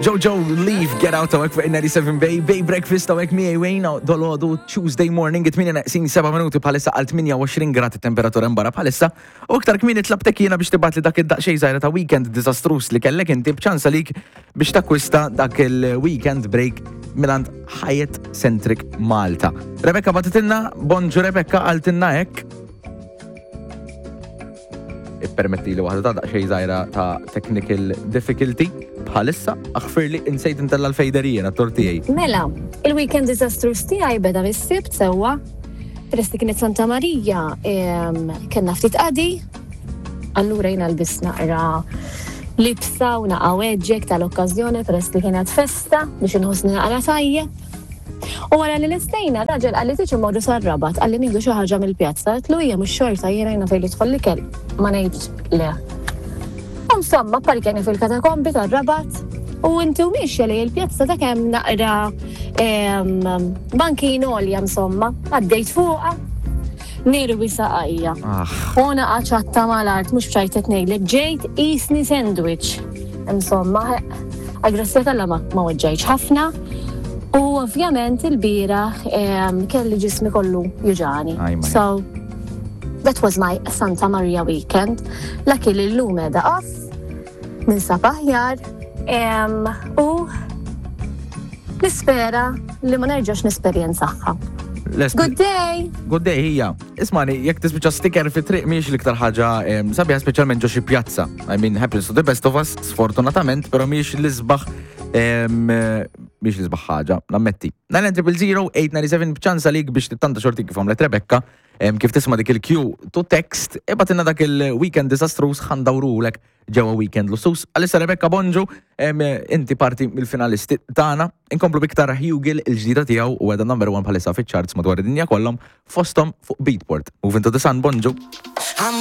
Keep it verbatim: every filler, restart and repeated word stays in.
Jojo, Leave, Get Out hawnhekk fuq ninety-seven Bay, Bay Breakfast hawnhekk miegħi Wayne dalgħodu Tuesday morning, it-tmienja neqsin seba' minuti bħalissa għal tmienja u għoxrin grad temperatura barra bħalissa. U iktar kmieni tlabtek jiena biex tibgħatli dak id-daqsxejn żgħira ta' weekend diżastruż li kellek inti b'ċans għalik biex takkwista dak il-weekend break mingħand Hyatt Centric Malta. Rebecca bagħtitilna, bonġu Rebecca, qaltilna hekk. Ippermetti li waħda ta' daqsxejn żgħira ta' technical difficulty bħalissa, aħfirli, insejt intella' l-fader jiena t-tortijaj. Mela, il-weekend disastrous tiegħi beda mis-Sibt sewwa. Peress li kienet Santa Marija, em, kellna ftit qadi, allura jiena lbist naqra libsa u naqa weġġek tal-okkażjoni peress li kienet festa biex inħossni naqra tajjeb. U wara li lestejna, raġel qalli tiġi mmorru sar-Rabat, qalli nieħdu xi ħaġa mill-pjazza, għedtlu hija mhux xorta jiena jiena fejn jidħol l-ikel, ma ngħidx le. U insomma, parkjani fil-katakombi tar-Rabat u inti u miexja li il-pjazza ta' kemm naqra em, bankin għolja insomma, għaddejt fuqha, nirwi saqajja. Ah, U naqa ċatta mal-art, mhux b'ċajt ngħidlek, ġejt qisni sandwich. Insomma, għal-grazzja t'Alla ma ma weġġajtx ħafna. U ovvjament il-bieraħ em, kelli ġismi kollu juġgħani. Aj, ma. So, that was my Santa Maria weekend. Lucky li llum qiegħda off, ninsab aħjar, em, u nispera li ma nerġax nesperjenzaha. Les- Good day! Good day, hija. Ismani, jekk tispiċċa sticker fi triq mhix l-iktar ħaġa em, sabiħa, speċjalment ġo xi pjazza. I mean, happens to the best of us, sfortunatament, però mhix l-isbaħ em, eh, mhix l-isbaħ ħaġa, nammetti. nine zero zero eight nine seven b'ċans għalik biex tittanta xorti kif għamlet Rebecca, em, kif tisma' dik il-cue to text, ibgħatilna dak il-weekend disastrous, ħa ndawrulek ġewwa weekend lussuż. Għalissa Rebecca, bonġu, em, inti parti mill-finalisti tagħna, inkomplu b'iktar Hugel, il-ġdida tiegħu u għedha number one bħalissa fiċ-charts madwar id-dinja kollhom, fosthom fuq Beatport. Moving to the Sun, bonġu.